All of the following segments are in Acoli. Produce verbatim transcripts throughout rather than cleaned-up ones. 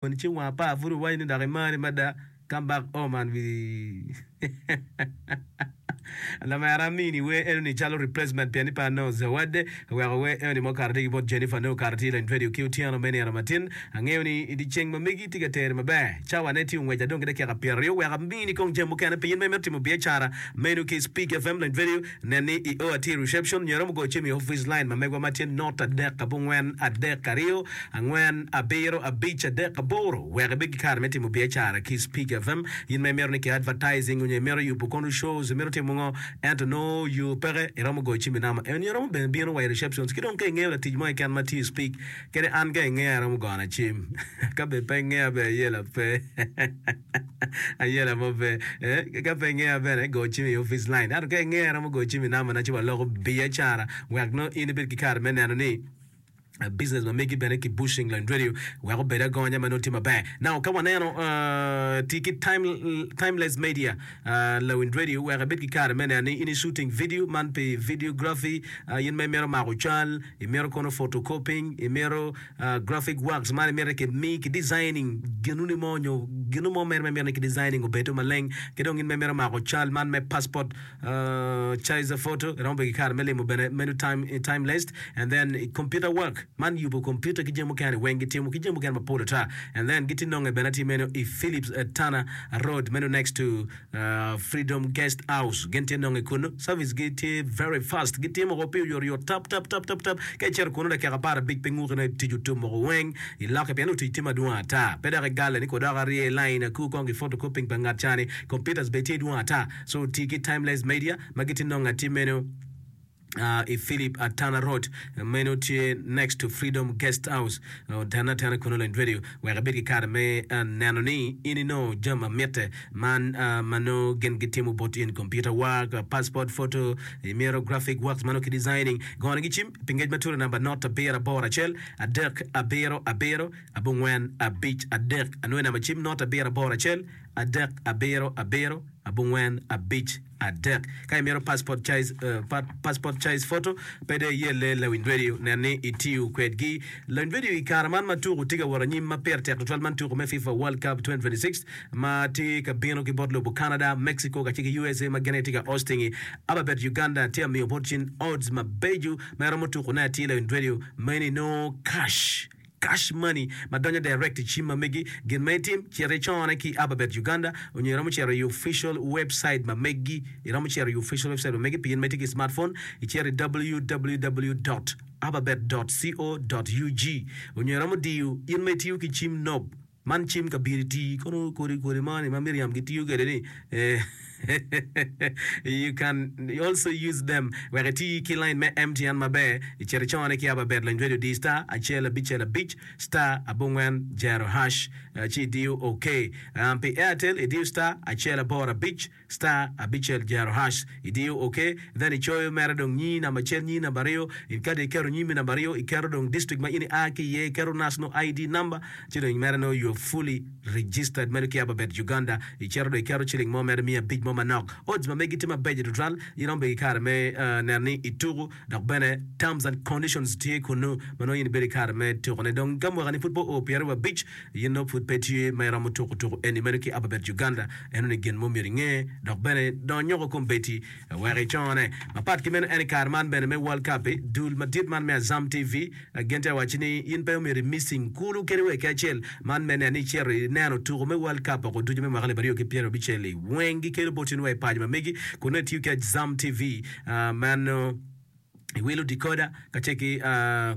Ceng wang apar pud iwaco ni dok imari mada, come back home and we Lamera amini wer enoni calo replacement pien ni pe anongo zawadde oweko wer enoni ma okato tye ki bot Jennifer nongo okato tye i lony radio ki otyeno me nino matin. Angeyo ni i dyeceng ma megi tye ka teri maber. Cawa ne tye ongwec adong ki dakika pyeraryo wek amini kong jami mukene pi in ma imito timo biacara meno ki Speak FM lony radio nen ni i o atir reception nyo iromo goyo cim i office line ma megwa ma tye not adek abongwen adek aryo angwen abiro abic adek aboro wek ibed ki kare me timo biacara ki Speak FM. In ma imito ni ki advertising onyo imito yubo kono shows imito timo ngo ento nongo yo peke iromo goyo cim i namba eni iromo bene bino wa i receptions ki dong ka ingeyo latic mo keken ma tiyo i Speak kadi an ka ingeya iromo gona cim ka bene pe ingeya bene ayela pe ayela mo pe eh ka pe ingeya bene go cim i office line ento ka ingeya iromo goyo cim i namba na ci waloko biacara wek nongo in ibed ki kare me neno ni business ma megi bene ki bushing lony radio wek obed agonya ma nongo tye maber. Now ka waneno uh, ti ki time, timeless media uh, lawiny radio wek ibed ki kare me neno ni in i shooting video man pi videography uh, in ma imito mako cal imito kono photocopying imito uh, graphic works man imito ki mi ki designing ginuni mo nyo ginu mo mere ma imito ni ki designing obedo maleng ki dong in ma imito mako cal man me passport uh, size photo iromo bedo ki kare me limo bene menu time, timeless and then computer work man yubo computer ki jami mukene weng gitimo ki jami mukene mapol ata and then gitye nonge bene atir meno i Philips uh, Tana Road meno next to uh, Freedom Guest House gin tye nonge kunu service gi tye very fast gitimo ko pi oyotoyot tap tap tap tap tap ka icito kunu dakika apar abic pe nguki ne tic otum moko weng iloke pien otic tye madwong ata pe dok igale ni kodok arye i line aku kong ki photocopying pa ngat cani computers bene tye dwong ata so ti ki timeless media ma gitye nonge atir meno uh, i Philip Atana Road meno tye next to Freedom Guest House otene atena kunu lony radio wek ibed ki kare me uh, neno ni in inongo jami ma mitte man uh, ma nongo gin gitimo bot in computer work uh, passport photo imito graphic works mano ki designing gone gi cim pi ngec matut i namba not abiro aboro acel adek abiro abiro abongwen abic adek anwe namba cim not abiro aboro acel adek abiro abiro abongwen abic adek ka imito passport size, uh, pa, passport size photo pe de iyelle lawiny radio nen ni itiyo kwedgi lawiny radio i kare man ma tuko tye ka wot anyim ma pire tek tutwal man tuko me FIFA World Cup twenty twenty-six ma tye ka bino ki bot lobo Canada, Mexico kacel ki U S A ma gin aye tye ka hosting-i. Ababet Uganda tye amiyo bot cin odds mabeco ma iromo tukone atir lawiny radio meno inongo cash cash money ma donyo direct i cim ma megi. Gin ma itim, cit icone ki Ababet Uganda onyo iromo cito i official website ma megi. Iromo cito i official website ma megi pi in ma itye ki smartphone, icito i www dot ababet dot co dot ug onyo iromo diyo in ma itiyo ki cim nob man cim kabiri tii kono kodi kodi moni ma Miriam gitiyo kwede ni eh, you can also use them wek iti ki line me M T N maber icito icone ki Ababet lony radio di star acel abicel abic star abongwen jero hash eh, ci idiyo OK. Um, pi Airtel idiyo star acel aboro abic star abicel jero hash idiyo OK then icoyo mere dong nyi namba acel nyi namba aryo in kadi iketo nyimi namba aryo iketo dong district ma in ia ki iye iketo national I D number ci dong mere no you are fully registered meno ki Ababet Uganda icito dong iketo ciling mo mere miya abic mo manok odds ma megi tye mabeco tutwal in romo bedo ki kare me uh, neno ni ituku dok bene terms and conditions tye kunu ma nongo in ibedo ki kare me tukone dong ka mwaka ni pud pe oo pyeraryo abic in nongo pud pe tye ma iromo tuku tuku eni meno ki Ababet Uganda eno ni gin mo myero inge dok bene dong nyoko kombeddi wek icone mapat ki meno en i kare man bene me World Cup dul madit man me Azam T V gin tye waci ni in pe omyero missing kulu kadi wa ki acel man me neno ni icito ineno tuku me World Cup oko ducu me mwaka alip aryo ki pyeraryo abicel i weng gikelo bot in wa i paco ma megi kun nongo itiyo ki Azam T V uh, mano iwilo decoder kacel ki uh,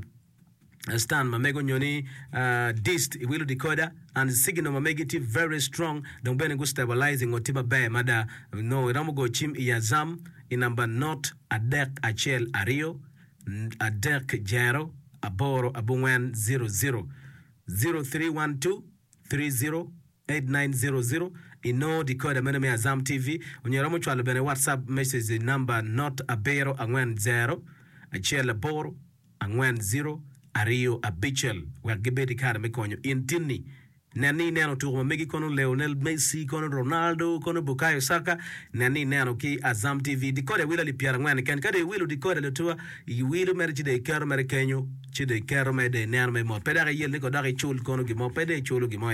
stand ma mego nyo ni uh, dist iwilo decoder and signal ma megi tye very strong dong bene gu stabilizing o tye maber mada no iromo go cim i Azam i namba not adek acel aryo adek jero aboro abongwen zero zero zero three one two three zero eight nine zero zero ino decoder meno me Azam T V onyo iromo cwalo bene WhatsApp message i namba not abiro angwen zero acel aboro angwen zero aryo abicel wek gibed i kare me konyo in tinni Nen ni ineno tuko ma megi kono Lionel Messi, kono Ronaldo, kono Bukayo Saka. Nen ni ineno ki Azam T V. Decoder wilo alip pyerangwen keken. Ka dong iwilo decoder lutuwa, iwilo mere ci dong iketo mere kenyo, ci dong iketo mere dong ineno mere mot. Pe dok iyel ni ko dok icul kono gin mo, pe dong iculo gin mo.